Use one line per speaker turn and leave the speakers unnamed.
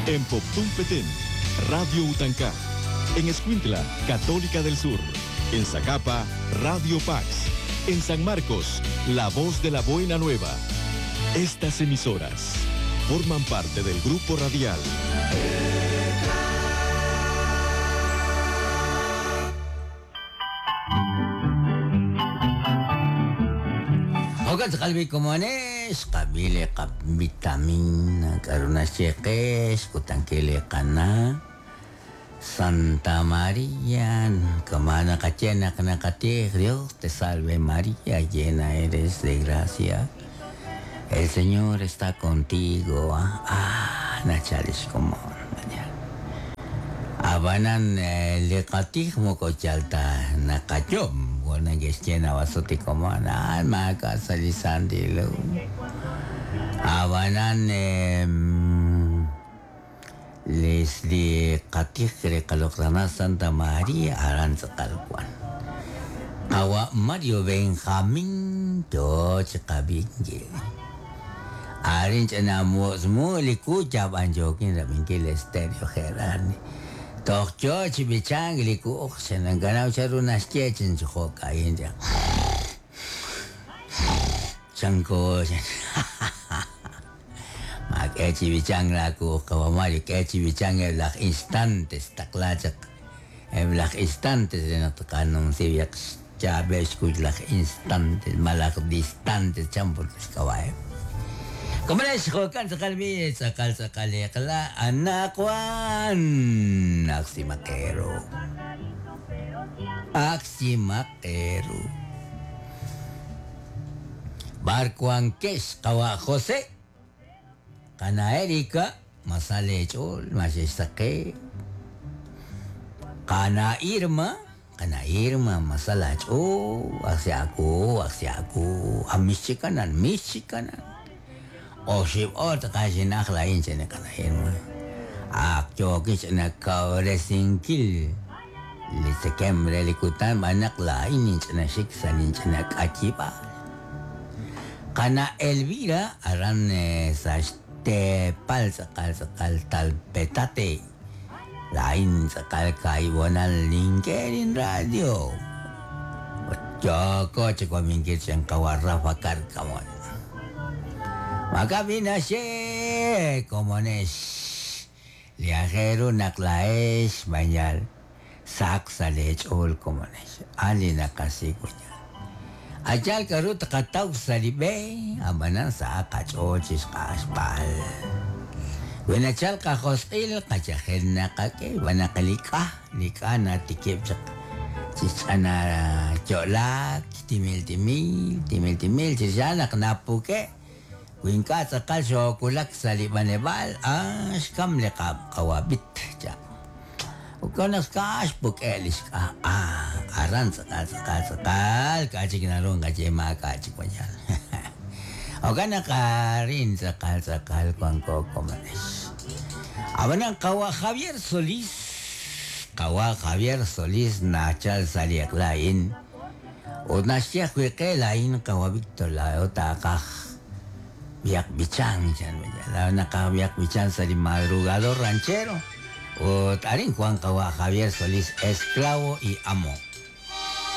En Poptún Petén, Radio Utancá. En Escuintla, Católica del Sur. En Zacapa, Radio Pax. En San Marcos, La Voz de la Buena Nueva. Estas emisoras forman parte del grupo radial.
Jokan tz'aqal b'ikomones, qab'il qab vitamina, k'aru naxye qe, xkutankil li qana' Santa María, kamana qaye naq naqatij, Dios te salve María, llena eres de gracia. El Señor está contigo. Ah, nachal xkomon. Ab'anan li qatij moko yal ta naqayom, neke'xye nawasuti komon, ah, maak'a' sa' li Santil Hu. Ab'anan li qatij re qaloq'lana Santa María aran tz'aqal wan. Qawa' Mario Benjamín yo chi qab'inkil. Arin ch'ina mutz'mu' li ku yab'an yookin rab'inkil Estéreo Gerardi. Toj yo chi b'ichank li ku'uj xenankanaw chanru naxye chin chi jo'ka'in chan. Chanko Maak'e chi b'ichank laaku'uj qawa' Mario, k'e chi b'ichank eb' laj instantes taqla chaq eb' laj instantes re naq tqanumsi b'yaq xchaab'il xkuy laj instantes malaj distantes chan put xk'ab'a'eb'. Komonex jo'kan tz'aqal b'i tz'aqal tz'aqal eq'la anaqwan ajsimaqeru. Ajsimaqeru. B'ar wankex qawa' José, qana' Erika, ma sa leech'ool, ma xexsaqe. Qana' Irma, qana' Irma, ma sa laach'ool, ajsi aawu, ajsi aawu, a mixchikanan, mixchikanan. Oxib' oor tz'aqal xin'aj laa'in chan li qana' Irma. Ak yookin ch'ina kawresinkil li tzekemq re li kutan b'an naq laa'in ninch'ina xik sa' linch'ina k'ayib'aal. Qana' Elvira aran sa' xteepal tz'aqal tz'aqal Talpetate. Laa'in tz'aqal kaahib' honal nink'e linradio. Ut yooko chi wab'inkil chan qawa' Rafa Cárcamo. Maak'a' b'i' naxye komonex li aajel ru naq laa'ex b'ayal saq sa' leech'ool komonex. A'an li naqasik' b'ayal. A'yaal k'aru tqataw sa' li b'e, ab'anan sahaq qach'ool chi xq'axb'al. Wi nachal qajosq'il, qachajel naqak'e, xb'aan naq li k'a, li k'a natikib' chaq chi xch'ana yo'laak, timil timil, timil timil, chi xa'an naq napuk'e', wi ink'a' tz'aqal xoowulak sa' li b'aneb'aal, ah, xkam li qawab'it, cha. Jo'kan naq k'a xpuk'e' li xk'a, ah, aran tz'aqal tz'aqal tz'aqal, k'a' chik naru nqaye maak'a' chik wayal. Jo'kan naq arin tz'aqal tz'aqal wanko komonex. Ab'anan qawa' Javier Solís, qawa' Javier Solís nachal sa' li eq'la a'in ut naxye ajwi' qe laa'in qawa' Víctor laa'o taaqaj b'ihaq b'ichank chan laa'o naqaj b'ihaq b'ichank sa' li madrugador ranchero ut arin wank qawa' Javier Solís esclavo y amo.